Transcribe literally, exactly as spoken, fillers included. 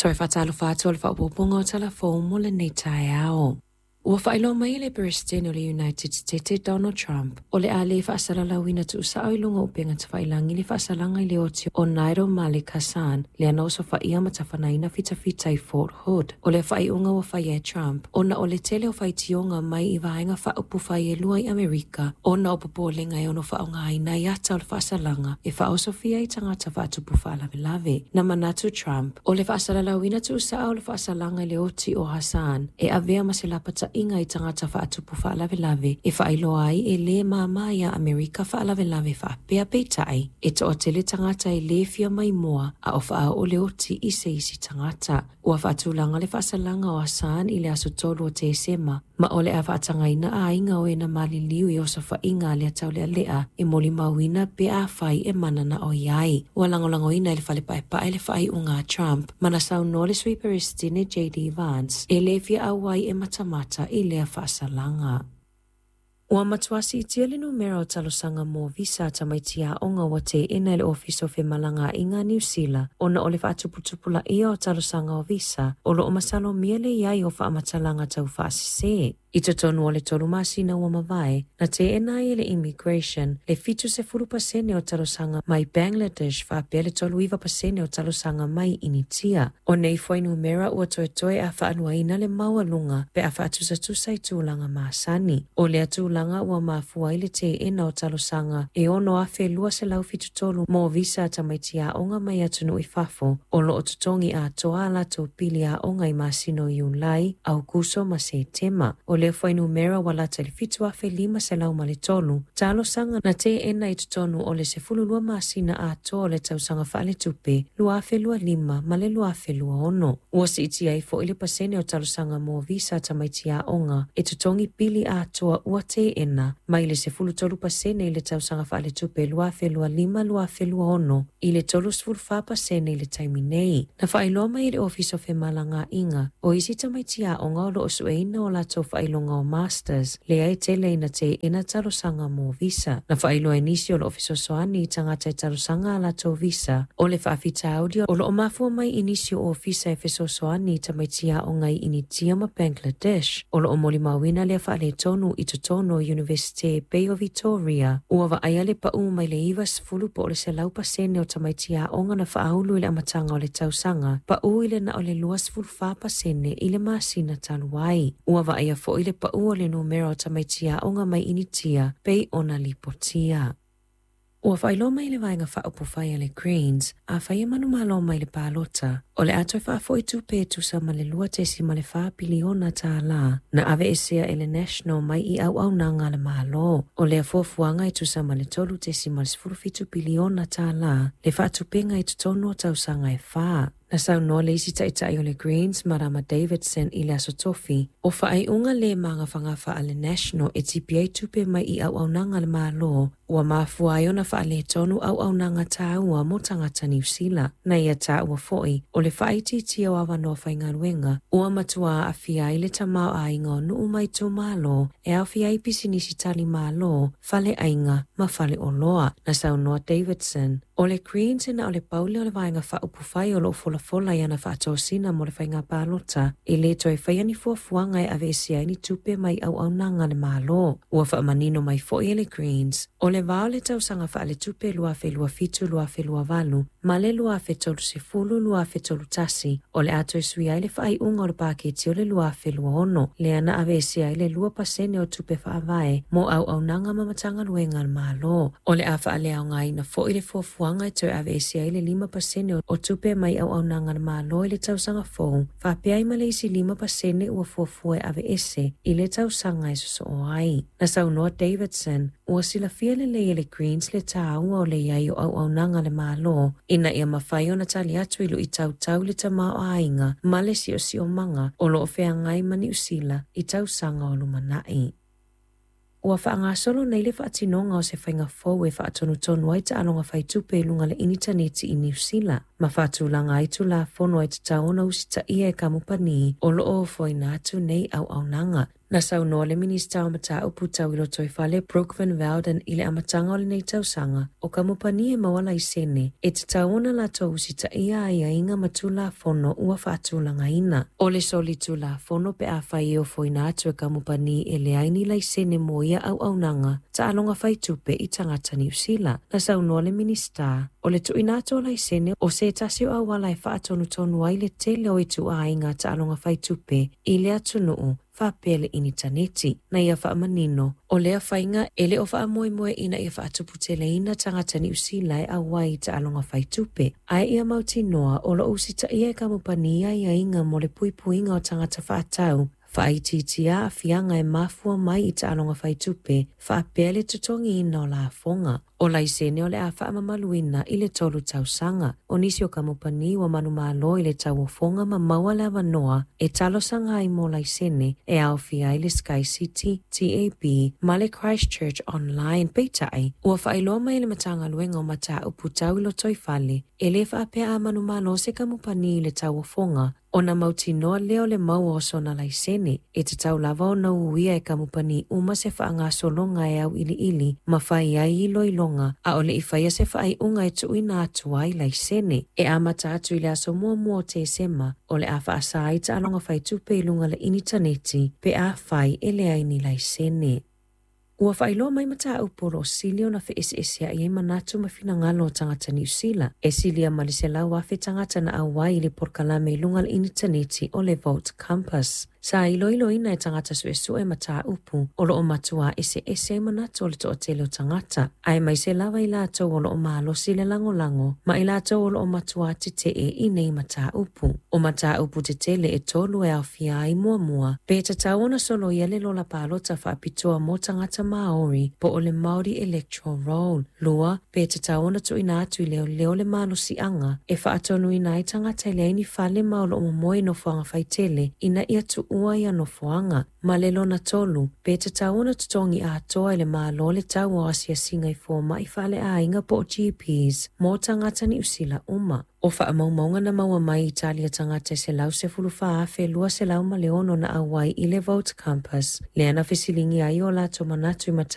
Toe faatalofa atu o le faaopoopoga o Tala Fou mo lenei taeao. Ua faailoa mai e le Peresetene o le United States Donald Trump o le a le faasalalauina tuusao i luga o upega tafailagi le faasalaga i le oti o Nidal Malik Hassan lea na osofaia ma tafanaina fitafita i Fort Hood. O le faaiuga ua faia e Trump ona o le tele o faitioga mai i vaega faaupufai e lua i Amerika ona o popolega e ono faaaogaina ai ata o le faasalaga e faaosofia ai tagata faatupu faalavelave. Na manatu Trump o le faasalalauina tuusao o le faasalaga i le oti o Hassan e avea ma se lapataiga i tagata faatupu faalavelave e faailoa ai e lē māmā iā Amerika faalavelave faapea peitai e toatele tagata e lē fia maimoa a o faaoo le oti i se isi tagata. Ua faatulaga le faasalaga o Hassan i le aso tolu o Tesema ma o le a faatagaina aiga o e na maliliu i osofaiga a lea taulealea e molimauina pe afai e mananao i ai. Ua lagolagoina e le fale paepae le faaiuga a Trump ma na saunoa le sui Peresetene J D Vance e lē fia auai e matamata i lea faasalaga. Ua matua siitia le numera o talosaga mo visa a tamaiti aoga ua teena e le Ofisa o Femalagaaiga Niu Sila ona o le faatuputupulaia o talosaga o visa o loo masalomia le iai o faamatalaga tau faasese. I totonu o le tolu masina ua mavae, na teena ai e le Immigration le fitu sefulu pasene o talosaga mai Bangladesh faapea le tolu iva pasene o talosaga mai Initia. O nei fuainumera ua toetoe a faaluaina le maualuga pe a faatusatusa i tulaga masani. O lea tulaga ua mafua ai le teena o talosaga e ono afe lua selau fitu tolu mo visa a tamaiti aoga mai atunuu i fafo o loo totogi atoa a latou pili aoga i masina o Iulai, Aukuso ma Setema. O lea fuainumera ua lata i le fitu afe lima selau ma le tolu, talosaga na teena i totonu o le sefulu lua masina atoa o le tausaga faaletupe lua afe lua lima ma le lua afe lua ono. Ua siitia ai foi le pasene o talosaga mo visa a tamaiti aoga e totogi pili atoa ua teena mai le sefulu tolu pasene i le tausaga faaletupe lua afe lua lima lua afe lua ono i le tolu sefulu fa pasene i le taimi nei. Na faailoa mai e le Ofisa o Femalagaaiga o isi tamaiti aoga o loo sueina o latou faailoga o Masters lea e tele ina teena talosaga mo visa. Na faailoa e nisi o loo fesoasoani i tagata i talosaga a latou visa o le faafitauli o loo mafua mai i nisi o ofisa e fesoasoani i tamaiti aoga i Initia ma Bangladesh. O loo molimauina lea faaletonu i totonu o Universite pei o Victoria. Ua vaaia le pau mai le iva sefulu po o le selau pasene o tamaiti aoga na faaulu i le amataga o le tausaga, pau i le na o le lua sefulu fa pasene i le masina talu ai. Ua vaaia foi le pau o le numera o tamaiti aoga mai Initia pei ona lipotia. Ua faailoa mai le vaega faaupufai a le Greens a fai e manumalo mai le palota o le a toe faafoi tupe e tusa ma le lua tesima le fa piliona tālā na aveesea e le National mai i auaunaga a le Malo. O lea fuafuaga e tusa ma le tolu tesima le sefulu fitu piliona tālā le faatupenga i totonu o tausaga e whā. Na saunoa le isi taitai o le Greens, Marama Davidson i le aso tofi, o faaiuga le magafagafa a le National e tipi ai tupe mai i auaunaga a le Malo, ua mafua ai ona faaletonu auaunaga tāua mo tagata Niu Sila. Na ia tāua foi, o le faaitiitia o avanoa faigaluega, ua matua aafia ai le tamaoaiga o nuu mai itumalo e aofia ai pisinisi tali malo, faleaiga ma faleoloa. Na saunoa Davidson, o le Greens e na o le pau lea o le vaega faaupufai o loo folafola i ana faatosina mo le faiga palota e lē toe faia ni fuafuaga e aveesea ai ni tupe mai auaunaga a le Malo. Ua faamanino mai foi e le Greens, o le vā o le tausaga faaletupe lua afe lua fitu lua afe lua valu ma le lua afe tolu sefulu lua afe tolu tasi o le a toe sui ai le faaiuga o le paketi o le lua afe lua ono lea na aveesea ai le lua pasene o tupe faavae mo auaunaga ma Matagaluega a le Malo. O le a faaleaogaina foi le fuafuaga e toe aveesea ai le lima pasene o tupe mai auaunaga a le Malo i le tausaga fou, faapea ai ma le isi lima pasene ua fuafua e aveese i le tausaga e sosoo ai. Na saunoa Davidson, ua silafia lelei e le Greens le tāua o le iai o auaunaga a le Malo ina ia mafai ona tali atu i luitautau le tamaoaiga ma le siosiomaga o loo feagai ma Niu Sila i tausaga o lumanai. Ua faagasolo nei le faatinoga o se faiga fou e faatonutonu ai taaloga faitupe i luga le initaneti i Niu Sila ma faatulaga ai tulafono e tatau ona usitaia e kamupani o loo ofoina atu nei auaunaga. Na saunoa le Minisita o Mataupu Tau i Lotoifale Brooke Van Velden i le amataga o lenei tausaga o kamupani e maua laisene e tatau ona latou usitaia aiaiga ma tulafono ua faatulagaina. O le solitulafono pe afai e ofoina atu e kamupani e leai ni laisene mo ia auaunaga taaloga faitupe i tagata Niu Sila. Na saunoa le Minisita o le tuuina atu o laisene o se tasi o auala e faatonutonu ai le tele o ituaiga taaloga faitupe i le atunuu faapea le initaneti. Na ia faamanino, o lea faiga e le o faamoemoe ina ia faatuputeleina tagata Niu Sila e auai i taaloga faitupe, ae ia mautinoa o lo o usitaia e kamupani aiaiga mo le puipuiga o tagata faatau, faaitiitia aafiaga e mafua mai i taaloga faitupe faapea le totogiina o lafoga. O laisene o le a faamamaluina i le tolu tausaga. O nisi o kamupani ua manumalo i le tauofoga ma maua le avanoa e talosaga ai mo laisene e aofia ai le Sky City, T A B ma le Christchurch Online. Peitai, ua faailoa mai le Matagaluega o Mataupu Tau i Lotoifale e lē faapea a manumalo se kamupani i le tauofoga ona mautinoa lea o le maua o sona laisene e tatau lava ona uia e kamupani uma se faagasologa e auiliili ma fai ai iloiloga a o le i faia se faaiuga e tuuina atu ai laisene. E amata atu i le aso muamua o Tesema o le a faasa ai taaloga faitupe i luga le initaneti pe afai e leai ni laisene. Ua faailoa mai mataupu o lo o sili ona feeseeseai ai manatu ma finagalo o tagata Niu Sila. E silia ma le selau afe tagata na auai i le polokalame i luga le initaneti o le Vote Compass. Sa iloiloina e tagata suesue mataupu o lo o matua eseese ai manatu o le toatele o tagata, ae maise lava i latou o lo o malosi le lagolago ma i latou o lo o matua tetee i nei mataupu. O mataupu tetele e tolu e aofia ai muamua, pe tatau ona soloia le lola palota faapitoa mo tagata Maori po o le Māori Electoral Roll. Lua, pe tatau ona tuuina atu i leoleo le malosiaga e faatonuina ai tagata e leai ni fale ma o lo o momoe i nofoaga faitele ina ia tuua ia nofoaga. Ma le lona tolu, pe tatau ona totogi atoa i le Malo le tau o asiasiga i fomai faaleaiga po o G Ps mo tagata Niu Sila uma. O faamaumauga na maua mai i Italia tagata e selau sefulu fa afe lua selau ma le ono na auai i le Vote Compass, lea na fesiligia ai o latou manatu i